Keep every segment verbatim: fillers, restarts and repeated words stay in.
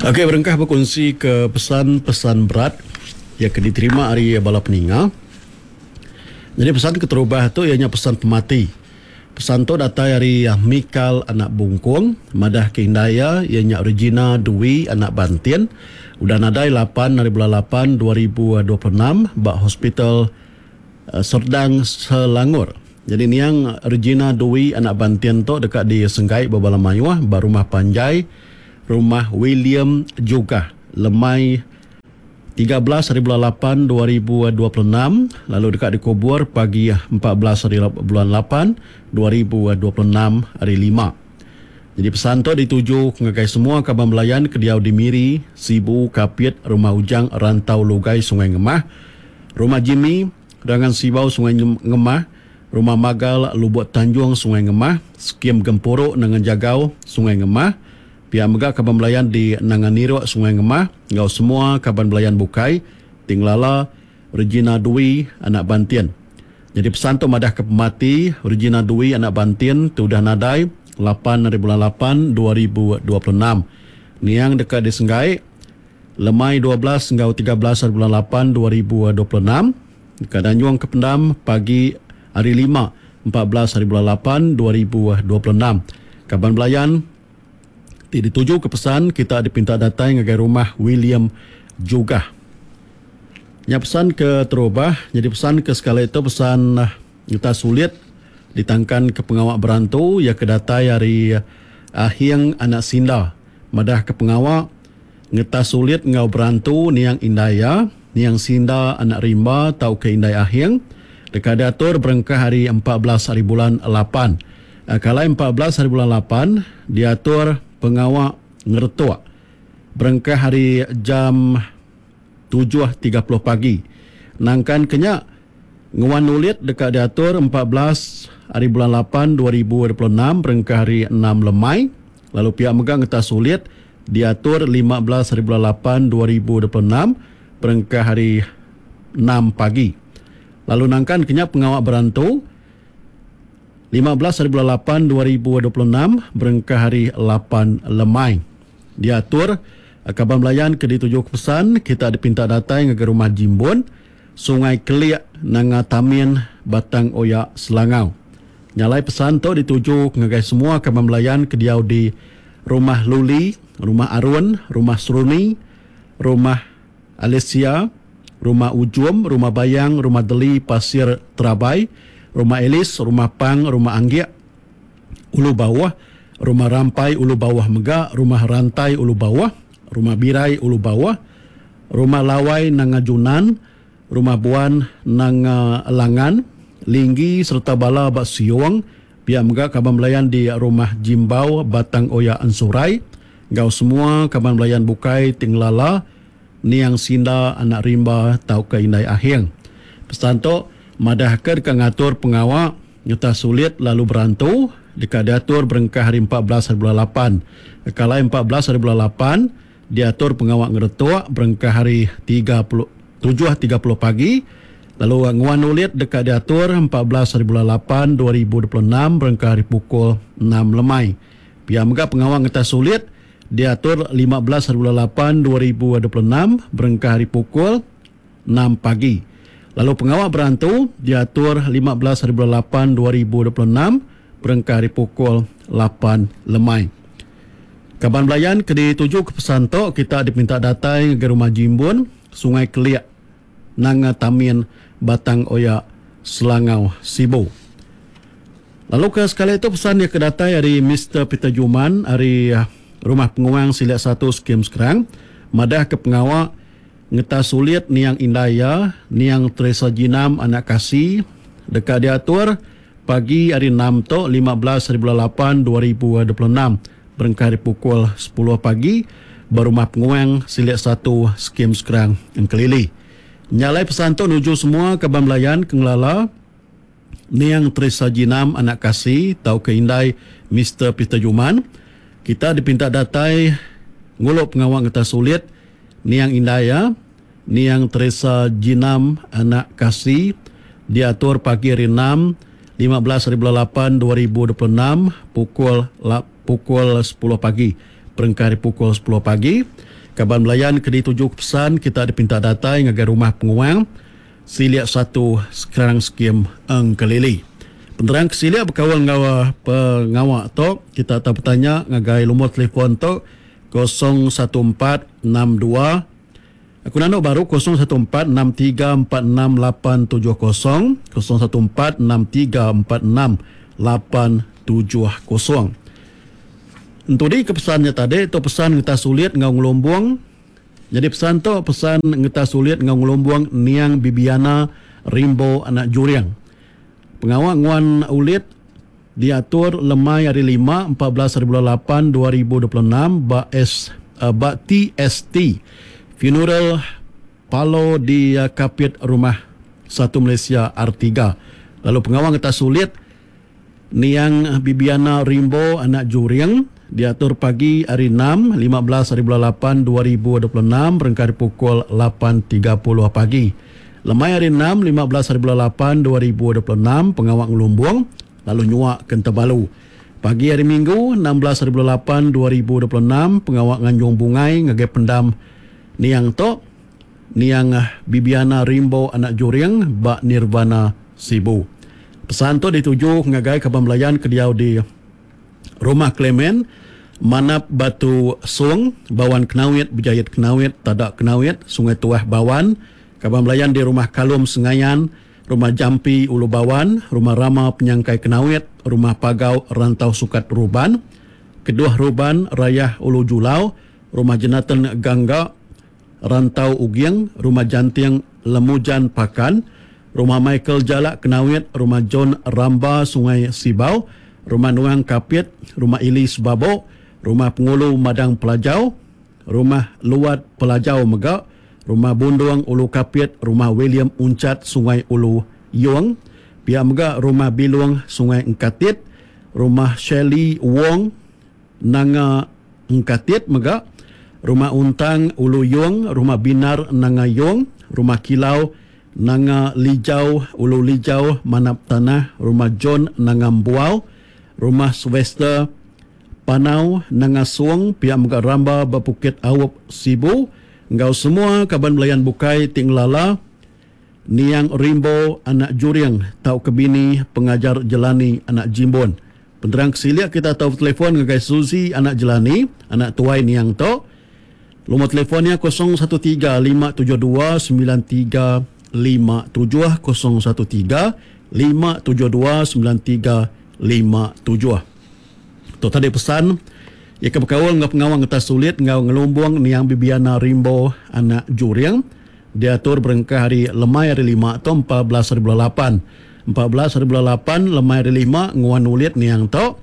Okey, berengkah bekunsi ke pesan-pesan berat iya ke diterima ari bala peninga. Nyadi pesan keterubah tu iya nya pesan pemati. Pesan tu datai ari Mikal anak Bungkung madah ke indai iya iya nya Regina Dwi anak Bantin udah nadai lapan hari bulan lapan dua ribu dua puluh enam ba Hospital Serdang Selangor. Jadi niang Regina Dwi anak Bantin tu deka disenggai bebala mayuh ba rumah panjai Rumah William Jugah lemai tiga belas hari bulan lapan dua ribu dua puluh enam lalu deka dikubur pagi empat belas hari bulan lapan dua ribu dua puluh enam hari lima. Jadi pesan tu dituju ngagai semua kaban belayan ke diau di Miri, Sibu, Kapit, Rumah Ujang, Rantau Lugai, Sungai Ngemah, Rumah Jimmy, Rangan Sibau, Sungai Ngemah, Rumah Magal, Lubuk Tanjung, Sungai Ngemah, Skim Gempuru, Nangan Jagau, Sungai Ngemah, pia mega kaban belayan di Nangan Niruk, Sungai Ngemah, enggau semua kaban belayan bukai Tinglala Regina Dwi anak Bantin. Jadi pesan tu madah ke pemati Regina Dwi anak Bantin tu udah nadai lapan hari bulan lapan dua ribu dua puluh enam. Niang deka disenggai lemai dua belas enggau tiga belas hari bulan lapan dua ribu dua puluh enam. Deka danjung ke pendam pagi hari lima empat belas hari bulan lapan dua ribu dua puluh enam. Kaban belayan ti dituju ke pesan kita dipinta datai ngagai rumah William Jugah. Nya pesan ke terubah. Jadi pesan ke sekali itu pesan kita sulit ditangkan ke pengawa berantu ia ke datai hari Ahing anak Sinda. Madah ke pengawa ngetas sulit ngau berantu niang indai ya, niang Sinda anak Rimba tau ke indai Ahing deka diatur berengkah hari empat belas hari bulan lapan. Kalai empat belas hari bulan lapan diatur pengawa ngeretuk berengkah hari jam tujuh tiga puluh pagi. Nangkan kenya nguan ulit deka diatur empat belas hari bulan lapan dua ribu dua puluh enam berengkah hari enam lemai. Lalu pihak mega ngetas sulit diatur lima belas hari bulan lapan dua ribu dua puluh enam berengkah hari enam pagi. Lalu nangkan kenya pengawa berantu lima belas hari bulan lapan dua ribu dua puluh enam berengkah hari lapan lemai. Diatur kaban belayan ke dituju ke pesan kita dipinta datai ngagai rumah Jimbun, Sungai Kelik, Nanga Tamin, Batang Oya, Selangau. Nyalai pesan tu dituju ngagai semua kaban belayan ke diau di Rumah Luli, Rumah Arun, Rumah Seruni, Rumah Alicia, Rumah Ujum, Rumah Bayang, Rumah Deli, Pasir Terabai, Rumah Elis, Rumah Pang, Rumah Anggik, Ulu Bawah, Rumah Rampai, Ulu Bawah Mega, Rumah Rantai, Ulu Bawah, Rumah Birai, Ulu Bawah, Rumah Lawai, Nanga Junan, Rumah Buan, Nanga Langan, Linggi serta Bala Bak Siong, pihak mega kaban belayan di Rumah Jimbau, Batang Oya Ansurai, gau semua kaban belayan bukai Tinglala, Niang Sinda, Anak Rimba, tau ke Indai Ahing. Pesan tu madah ke deka ngatur pengawa nyata sulit lalu berantu deka diatur berengkah hari empat belas hari bulan lapan. Kalai empat belas hari bulan lapan diatur pengawa ngeretuk berengkah hari tiga puluh, tujuh tiga puluh pagi. Lalu nguan ulit deka diatur empat belas hari bulan lapan dua ribu dua puluh enam berengkah hari pukul enam lemai. Pia mega pengawa ngetas sulit diatur lima belas hari bulan lapan dua ribu dua puluh enam berengkah hari pukul enam pagi. Lalu pengawa berantu diatur lima belas hari bulan lapan dua ribu dua puluh enam berengkah hari pukul lapan lemai. Kaban belayan ke dituju ke pesan tu kita dipinta datai ke Rumah Jimbun, Sungai Kelik, Nanga Tamin, Batang Oya, Selangau, Sibu. Lalu ke sekali itu pesan dia ke datai dari Mister Peter Juman dari Rumah Penguang Silat satu Skim Sekarang madah ke pengawa ngetas sulit niang indai ya, niang Teresa Jinam anak kasih dekat diatur pagi hari enam tu lima belas hari bulan lapan dua ribu dua puluh enam berengkah hari pukul sepuluh pagi berumah Penguang Silat satu Skim Sekarang Engkelili. Nyalai pesan tu nuju semua kaban belayan ke ngelala niang Teresa Jinam anak kasih tau ke indai Mister Peter Juman. Kita dipinta datai nguluk pengawa ngetas sulit niang indai ya, niang Teresa Jinam anak kasih diatur pagi hari enam lima belas hari bulan lapan dua ribu dua puluh enam pukul la-, pukul sepuluh pagi. berengkah ari pukul sepuluh pagi. Kaban belayan ke dituju ke pesan kita dipinta datai ngagai Rumah Penguang, Silik satu, Skrang Skim Engkelili. Penerang ke silik bekaul enggau pengawa tu, kita tau betanya ngagai lumur telefon tu kosong satu empat enam dua. Aku nanu baru kosong satu empat enam tiga empat enam lapan tujuh kosong, kosong satu empat enam tiga empat enam lapan tujuh kosong. Entudi ke pesannya tadi tu pesan ngetas sulit enggau ngelumbung. Jadi pesan tu pesan ngetas sulit enggau ngelumbung Niang Bibiana Rimbo anak Juring. Pengawa nguan ulit diatur lemai hari lima empat belas hari bulan lapan dua ribu dua puluh enam ba S, uh, ba T S T Funeral Palo di Kapit Rumah satu Malaysia R tiga. Lalu pengawa ngetas sulit Niang Bibiana Rimbo anak Juring diatur pagi hari enam lima belas hari bulan lapan dua ribu dua puluh enam berengkah ari pukul lapan tiga puluh pagi. Lemai hari enam lima belas hari bulan lapan dua ribu dua puluh enam pengawa ngelumbung lalu nyuak ke Tebalu. Pagi hari Minggu enam belas hari bulan lapan dua ribu dua puluh enam pengawa nganjung bungai ngagai pendam Niang tu Niang Bibiana Rimbo anak Juring ba Nirvana Sibu. Pesan tu dituju ngagai kaban belayan ke diau di Rumah Clement, Manap Batu Sung, Bawan Kenawit, Berjayit Kenawit, Tadak Kenawit, Sungai Tuah Bawan, kaban belayan di Rumah Kalum Sengayan, Rumah Jampi Ulu Bawan, Rumah Rama Penyangkai Kenawit, Rumah Pagau Rantau Sukat Ruban, Keduah Ruban Rayah Ulu Julau, Rumah Jenatan Gangga Rantau Ugiang, Rumah Janting Lemujan Pakan, Rumah Michael Jalak Kenawit, Rumah John Ramba Sungai Sibau, Rumah Nuang Kapit, Rumah Ili Sebabok, Rumah Pengulu Madang Pelajau, Rumah Luat Pelajau Mega, Rumah Bundung Ulu Kapit, Rumah William Uncat Sungai Ulu Yong, pihak mega Rumah Bilung Sungai Engkatit, Rumah Shelley Wong Nanga Engkatit mega, Rumah Untang Ulu Yong, Rumah Binar Nanga Yong, Rumah Kilau Nanga Lijau Ulu Lijau Manap Tanah, Rumah John Nanga Mbuau, Rumah Sylvester Panau Nanga Suang, pihak mega Ramba Bepukit Awop Sibu, enggau semua kaban belayan bukai Tinglala Niang Rimbo anak Juring tau kebini pengajar Jelani anak Jimbun. Penerang kesilik kita tahu telefon ngagai Suzy anak Jelani, anak tuai Niang tu. Nombor telefonnya kosong satu tiga lima tujuh dua sembilan tiga lima tujuh, kosong satu tiga lima tujuh dua sembilan tiga lima tujuh. Tu tadi pesan ia ke berkaul dengan pengawang ngetas sulit ngau ngelumbung Niang Bibiana Rimbo anak Juring diatur berengkah hari lemai hari lima atau empat belas hari bulan lapan. Empat belas hari bulan lapan lemai hari lima nguan ulit Niang tu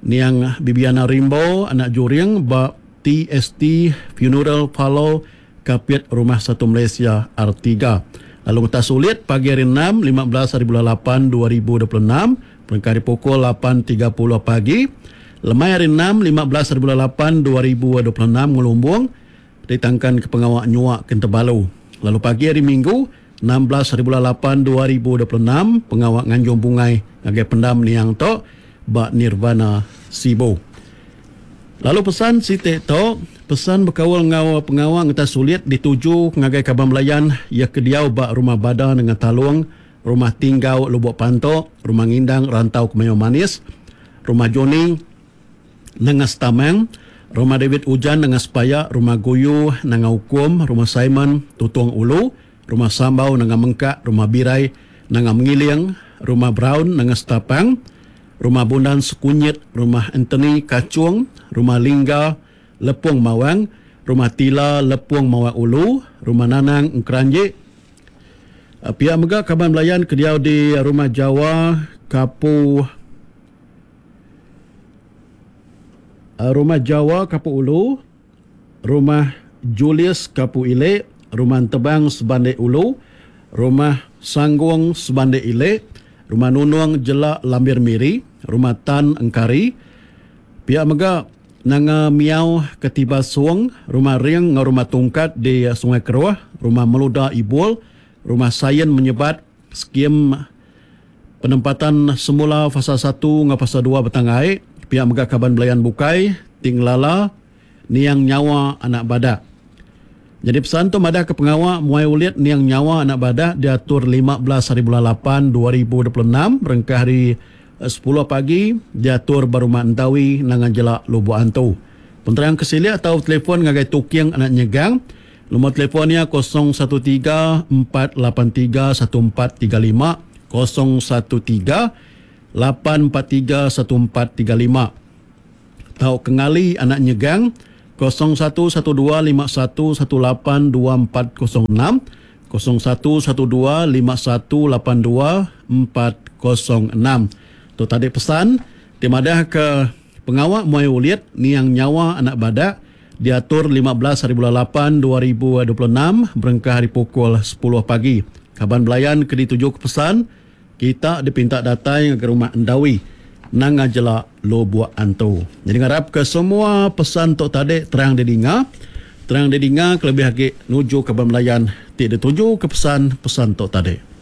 Niang Bibiana Rimbo anak Juring ba T S T Funeral Palo Kapit Rumah Satu Malaysia R tiga. Lalu ngetas sulit pagi hari enam lima belas hari bulan lapan dua ribu dua puluh enam berengkah hari pukul lapan tiga puluh pagi. Lemai hari enam lima belas hari bulan lapan dua ribu dua puluh enam ngelumbung ditangkan ke pengawak nyuak ke Tebalu. Lalu pagi hari Minggu enam belas hari bulan lapan dua ribu dua puluh enam pengawak nganjung bungai ngagai pendam Niang tu ba Nirvana Sibu. Lalu pesan sitik tu pesan berkaul ngau pengawak ngetas sulit dituju ngagai kaban belayan ia ke diau ba Rumah Bada dengan Talung, Rumah Tinggau Lubuk Pantok, Rumah Ngindang Rantau Kemayo Manis, Rumah Joni Nengah Stamang, Rumah David Ujan Nengah Sepaya, Rumah Guyu Nengah Hukum, Rumah Simon Tutung Ulu, Rumah Sambau Nengah Mengkak, Rumah Birai Nengah Mengiling, Rumah Brown Nengah Setapang, Rumah Bundan Sekunyit, Rumah Anthony Kacung, Rumah Lingga Lepung Mawang, Rumah Tila Lepung Mawang Ulu, Rumah Nanang Engkeranjik. Pihak mega kaban belayan ke diau di Rumah Jawa Kapu Rumah Jawa Kapu Ulu, Rumah Julius Kapu Ilek, Rumah Tebang Sebandek Ulu, Rumah Sanggung Sebandek Ilek, Rumah Nunung Jelak Lambir Miri, Rumah Tan Engkari. Pihak mega Nanga Miau Ketiba Suang, Rumah Ring ngau Rumah Tungkat di Sungai Keruah, Rumah Meluda Ibul, Rumah Sayen Menyebat, skim penempatan semula fasa satu ngau fasa dua Betangai. Pihak mega kaban belayan bukai Tinglala Niang Nyawa anak Badak. Nyadi pesan tu madah ke pengawa muai ulit Niang Nyawa anak Badak diatur lima belas hari bulan lapan dua ribu dua puluh enam berengkah hari sepuluh pagi diatur ba Rumah Entawi Nanga Jelak Lubok Antu. Penerang ke silik atau telefon ngagai Tuking anak Nyegang. Nombor telefon nya kosong satu tiga empat lapan tiga satu empat tiga lima, kosong satu tiga lapan empat tiga satu empat tiga lima. Tau kengali anak Nyegang kosong satu satu dua lima satu satu lapan dua empat kosong enam, kosong satu satu dua lima satu lapan dua empat kosong enam. Tu tadi pesan ti madah ke pengawa muai ulit Niang Nyawa anak Badak diatur lima belas hari bulan lapan dua ribu dua puluh enam berengkah hari pukul sepuluh pagi. Kaban belayan ke dituju ke pesan, kita dipinta datai ke rumah Endawi Nanga Jelak Lubok Antu. Jadi ngarap ke semua pesan tu tadi terang didinga, terang didinga kelebih agi nuju kaban belayan ti dituju ke pesan-pesan tu tadi.